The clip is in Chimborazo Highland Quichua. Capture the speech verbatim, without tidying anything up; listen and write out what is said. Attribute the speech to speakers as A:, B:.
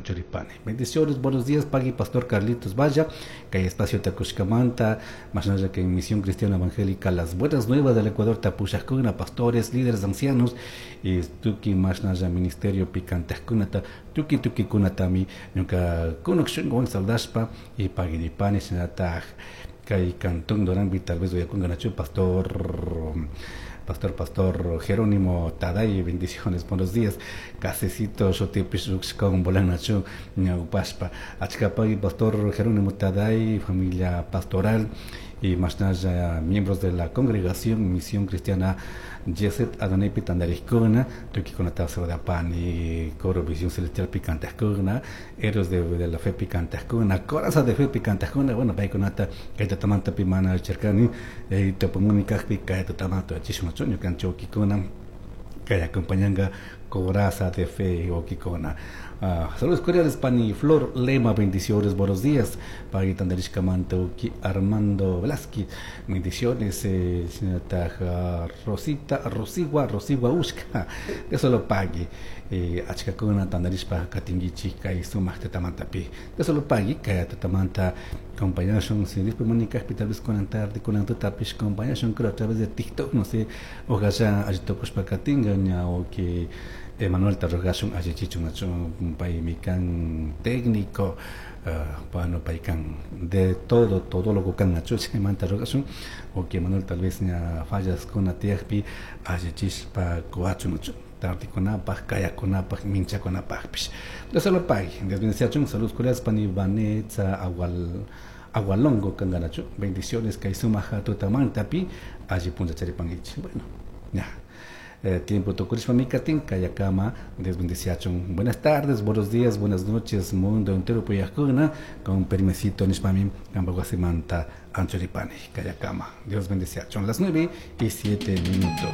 A: anchuripani. Bendiciones, buenos días, pagui Pastor Carlitos Valla, kay espacio takushkamanta, mashnalla que en Misión Cristiana Evangélica, las buenas nuevas del Ecuador, tapushajkuna, pastores, líderes ancianos, y tuki mashnalla ministerio picantajkunata, tuki tuki kunatami, ñuka kunuk shunguwan saldashpa, y paguiripani, shinataj, kay cantón Dorambi, tal vez voy a pastor Pastor, Pastor Jerónimo Taday, bendiciones, buenos días. Casecito, con Bolanachu, Ñaupaspa. Achkapay, Pastor Jerónimo Taday, familia pastoral y más miembros de la congregación Misión Cristiana Yeset Adonai Pitandarikuna, Tukikunata Pani, Coro Visión Celestial Picantascuna, Héroes de, de la Fe Picantascuna, Coraza de Fe Picantascuna, bueno, Paikunata, Kaitatamanta Pimana Cherkani, Topomunikajpi, Kaitatamanto, Chismachoño, Canchokikuna, que acompañanga Coraza de Fe Okikona. Uh, saludos cordiales, Pani Flor Lema, bendiciones, buenos días. Pagui Tandarishkamanto, Armando Velázquez, bendiciones, eh, señora Rosita, Rosigua, Rosigua Ushka, eso lo pague. Eh, achkakuna tandarishpa katingichi kay sumaq tatamantapi. Eso lo pague, kay tatamanta acompañashun, si después Mónica, tal vez con tarde, con tutapish, acompañashun, creo a través de TikTok, no sé, ojalá allitokushpa katinga, ña, o que Emanuel Tarrogashun allichichun achun paymikan técnico uh, bueno paykan de todo todo lo que kan achu chaymanta rogashun o que Emanuel tal vez ña fallas con tiyakpi allichishpa kuwachun achu tardikunapaj kayakunapaj minchakunapajpish Dios lo pague Dios bendice saludos cordiales pani Vanessa agual Agualongo kanganachu bendiciones kay sumaja tutamantapi alli puncha charipanguichi bueno ya Eh, tiempo tukurishpa mikatin kayakama Dios bendiciachun. Buenas tardes, buenos días, buenas noches, mundo entero puyajkuna con permisito nishpami kampa anchuripani kayakama. Dios bendiciachun. Las nueve y siete minutos.